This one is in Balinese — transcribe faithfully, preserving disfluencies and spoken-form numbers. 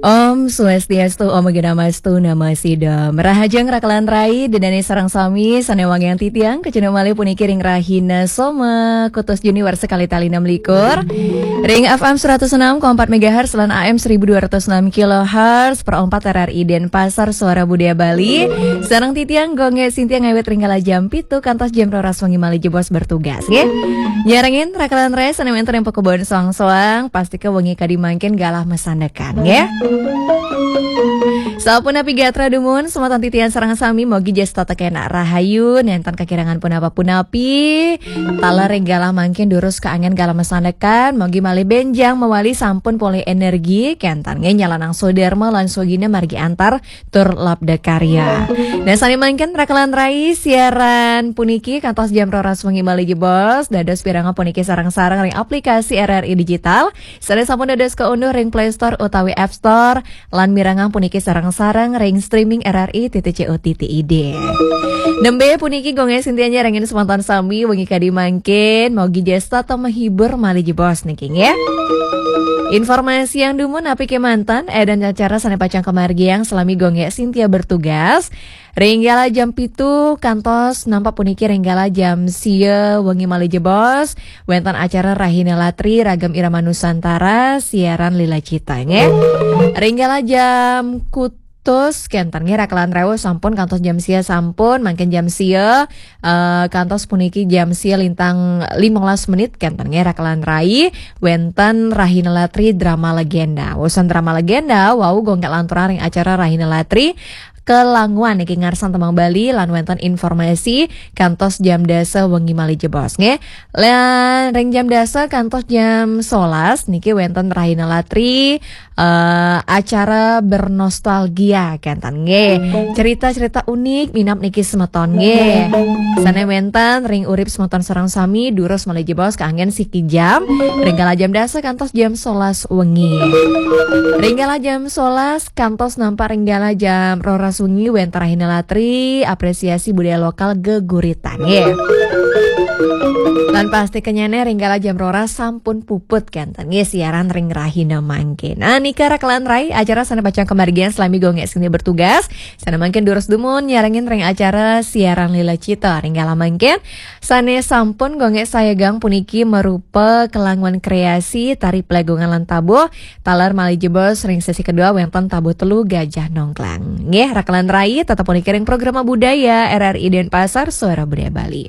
Om Swastiastu, Om Agnamastu, Namo Sidham. Rahajeng rakalan rai, dedane sareng sami sane wangiang titiang, kacunduk malih puniki ring rahina Soma, kutus Juni warsa kalih tali enam likur. Ring F M seratus enam koma empat megahertz lan A M seribu dua ratus enam kilohertz, Pro empat R R I Denpasar, Suara Budaya Bali. Sareng titiang Gongge Sintia ngawitin ring kala jam pitu kantos jam roras wengi malih jebos bertugas, nggih. Nyarengin rakalan rai sane wenten ring pakubon soang-soang, pastika wengi kadi mangkin galah masandekan, nggih. Sapunapi gatra dumun, semeton titiang sareng sami, mogi jagi tetep kenak rahayu, nenten kakirangan punapa-punapi, taler ring galah mangkin durus kaangen galah masandekan, mogi malih benjang mawali sampun polih energi, kenten nggih nyalanang swadarma lan swagina margi antar tur labda karya. Nah, sane mangkin rakalan rai, siaran puniki kantos jam roras wengi malih jebos, dados pirengang puniki sareng-sareng ring aplikasi R R I Digital, sane sampun dados kaunduh ring Play Store utawi App Store, lan mirengang puniki sareng-sareng ring streaming R R I titik co titik I D. Nembe puniki Gongge Sintia nyarengin semeton sami wengi kadi mangkin, mogi jagi tetep menghibur malih jebos niki, nggih. Informasiang dumun napi kemanten, eh, dan acara sane pacang kamargiang salami Gongge Sintia bertugas. Ring galah jam pitu kantos nampak puniki ring galah jam sia wengi malih jebos, wenten acara Rahina Latri Ragam Irama Nusantara, siaran Lila Cita, nggih. Ring galah jam kutus kenten nggih rakalan rai, sampun kantos jam sia sampun, mangkin jam sia, eh, kantos puniki jam sia lintang lima belas menit kenten nggih rakalan rai, wenten Rahina Latri Drama Legenda. Usan Drama Legenda wau Gongge lanturang ring acara Rahina Latri Kelanguan niki ngarsan tembang Bali lan wenten informasi kantos jam dasa wengi malih jebos, nggih. Lan ring jam dasa kantos jam solas niki wenten Rahina Latri, eh, acara bernostalgia kenten, nggih. Cerita-cerita unik minab niki semeton, nggih. Sane wenten ring urip semeton sareng sami durus malih jebos kaangen siki jam. Ring galah jam dasa kantos jam solas wengi. Ring galah jam solas kantos nampak ring galah jam roras wengi wenten Rahina Latri, apresiasi budaya lokal geguritan, nggih. Lan pasti kenyane ring galah jam roras sampun puput kenten, nggih, siaran ring rahina mangkin. Nah, nika rakalan rai, acara sane pacang kamargiang salami Gongge Sintia bertugas, sane mangkin durus dumun nyarengin ring acara siaran Lila Cita ring galah mangkin. Sane sampun Gongge sayagang puniki marupa kelanguan kreasi tari Plegungan lan Tabuh, taler malih jebos ring sesi kedua wenten Tabuh Telu Gajah Nongklang. Nggih, rakalan rai, tetep puniki ring Programa Budaya R R I Denpasar, Suara Budaya Bali.